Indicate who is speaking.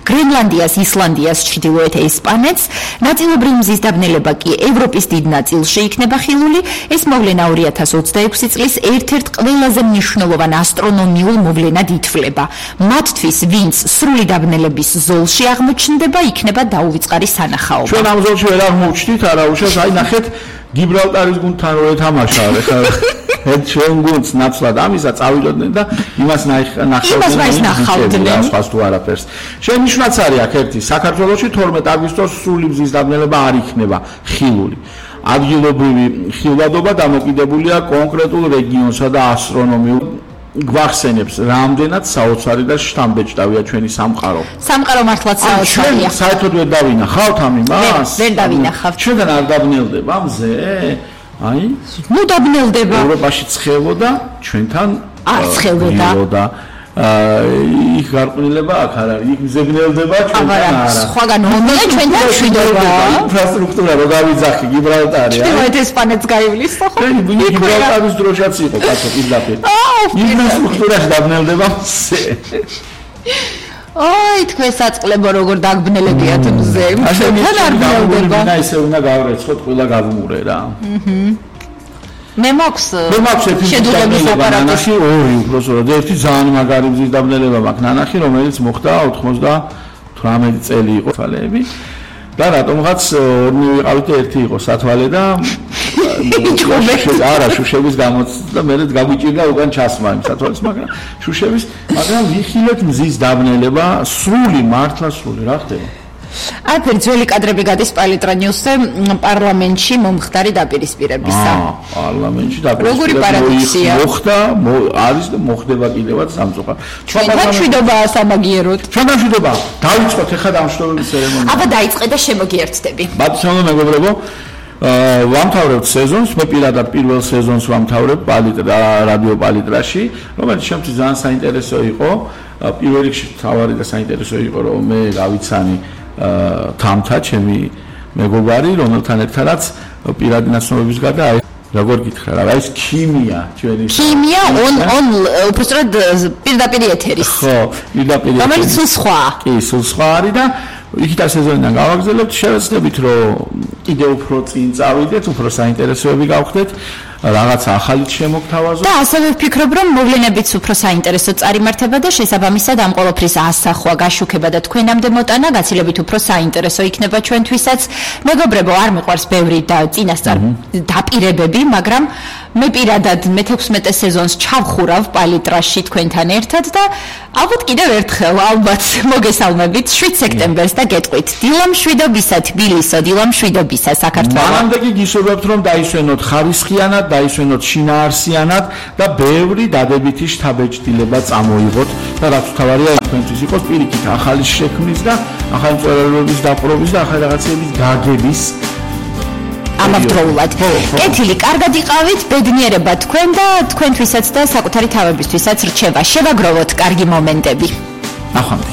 Speaker 1: გრენლანდიას, ისლანდიას, ჩრდილოეთ ესპანეთს. ნაწილობრივ მზის დაბნელება კი ევროპის დიდ ნაწილში იქნება ხილული. ეს მოვლენა 2026 წლის ერთ-ერთ ყველაზე მნიშვნელოვან ასტრონომიულ მოვლენად ითვლება. მათთვის, ვინც სრული დაბნელების ზოლში აღმოჩნდება, იქნება დაუვიწყარი სანახაობა.
Speaker 2: ჩვენ ამ ზოლში ვერ აღმოჩნდით, არა უშავს, აი ნახეთ გიბრალტარის გუნდთან რო ეთამაშა, ეხლა ერთ ჩვენ გუნდს ნაცვლად ამისა წავიდოდნენ და იმას ნახავდნენ, სხვას თუ არაფერს. შენიშვნაც არის აქ ერთი, საქართველოში 12 აგვისტოს სრული მზის დაბნელება არ იქნება ხილული. ადგილობრივი ხილვადობა დამოკიდებულია კონკრეტულ რეგიონსა და ასტრონომიულ გვახსენებს, რამდენად საოცარი და შთამბეჭდავია ჩვენი სამყარო.
Speaker 1: სამყარო მართლაც საოცარია.
Speaker 2: ჩვენ საერთოდ ვერ დავინახავთ ამ იმას?
Speaker 1: ვერ დავინახავთ.
Speaker 2: ჩვენთან არ დაბნელდება მზე? აი?
Speaker 1: ნუ დაბნელდება.
Speaker 2: ევროპაში ცხელოდა, ჩვენთან
Speaker 1: არ ცხელოდა.
Speaker 2: იქ გარყვნილება აქ არ არის, იქ მზებნელდება, ჩვენთან არა.
Speaker 1: სხვაგან ომია, ჩვენთან მშვიდობა.
Speaker 2: ინფრასტრუქტურა რო გავიძახი, გიბრალტარი.
Speaker 1: ჩრდილოეთ ესპანეთს გაივლის, ხო?
Speaker 2: გიბრალტარის დროშაც იყო, კაცო, პირდაპირ. ინფრასტრუქტურაში დაბნელდება მზე.
Speaker 1: აი, თქვენ საწყლებო როგორ დაგბნელებიათ მზე. ჩვენთან არ ბნელდება.
Speaker 2: და ისე უნდა გავრეცხოთ, ყველა გავუმურე რა.
Speaker 1: მე მაქვს
Speaker 2: შედუღების აპარატი ორი უბრალოდ ერთი ძალიან მაგარი მზის დაბნელება მაქვს ნანახი რომელიც მოხდა 98 წელი იყო თვალეები და რატომღაც ორი ვიყავით და ერთი იყო სათვალე და არა შუშების გამოცდა და მე გაგვიჭირდა უკან ჩასმა იმ სათვალეს მაგრამ ვიხილეთ მზის დაბნელება სრული მართლა სრული რა ხდება
Speaker 1: აფერ ძველი კადრები გადის პალიტრა ნიუსზე პარლამენტში მომხდარი დაპირისპირებისა.
Speaker 2: პარლამენტში დაპირისპირება მოხდა, არის და მოხდება კიდევაც სამწუხაროდ.
Speaker 1: ჩვენთან მშვიდობაა სამაგიეროდ.
Speaker 2: ჩვენთან მშვიდობა. დავიწყოთ ახლა დამშვიდობების ცერემონია.
Speaker 1: აბა დაიწყე და შემოგიერთდები.
Speaker 2: ბატონო მეგობრებო, ვამთავრებთ სეზონს, მე პირადად პირველ სეზონს ვამთავრებ რადიო პალიტრაში, რომელიც შემთხვევით ძალიან საინტერესო იყო. პირველ რიგში თავარი და საინტერესო იყო, რომ მე გავიცანი თამთა ჩემი მეგობარი რომელთან ერთადაც პირადი ნაცნობების გარდა აი როგორ გითხრა რა ეს ქიმია ჩვენი
Speaker 1: ქიმია უბრალოდ პირდაპირ ეთერის
Speaker 2: ხო პირდაპირ
Speaker 1: რომელიც სულ სხვა
Speaker 2: კი სულ სხვა არის და იქით სეზონიდან გავაგზავნებთ შევეცდებით რომ კიდევ უფრო წინ წავიდეთ უფრო საინტერესოები გავხდეთ რაღაც ახალიც შემოგთავაზოთ
Speaker 1: და ასევე ვფიქრობ რომ მოვლენებიც უფრო საინტერესო წარიმართება და შესაბამისად ამ ყოველფრის ასახვა გაშუქება და თქვენამდე მოტანა გაცილებით უფრო საინტერესო იქნება ჩვენთვისაც მეგობრებო არ მიყვარს ბევრი და წინასწარ დაპირებები მაგრამ მე პირადად მე-16 სეზონს ჩავხურავ პალიტრაში თქვენთან ერთად და ალბათ კიდევ ერთხელ ალბათ მოგესალმებით 7 სექტემბერს და გეტყვით დილამშვიდობისა თბილისო დილამშვიდობისა საქართველო
Speaker 2: მანამდე კი გისურვებთ რომ დაისვენოთ ხარისხიანად დაისვენოთ შინაარსიანად და ბევრი დადებითი შთაბეჭდილება წამოიღოთ და რაც თავარია თქვენთვის იყოს პირიქით ახალი შექმნის და ახალი მწერლობის დაპყრობის და ახალი რაღაცების გაგების
Speaker 1: ამავდროულად. კეთილი, კარგად იყავით, ბედნიერება თქვენ და თქვენთვისაც და საკუთარი თავებისთვისაც რჩება. შევაგროვოთ კარგი მომენტები.
Speaker 2: ნახვამდის.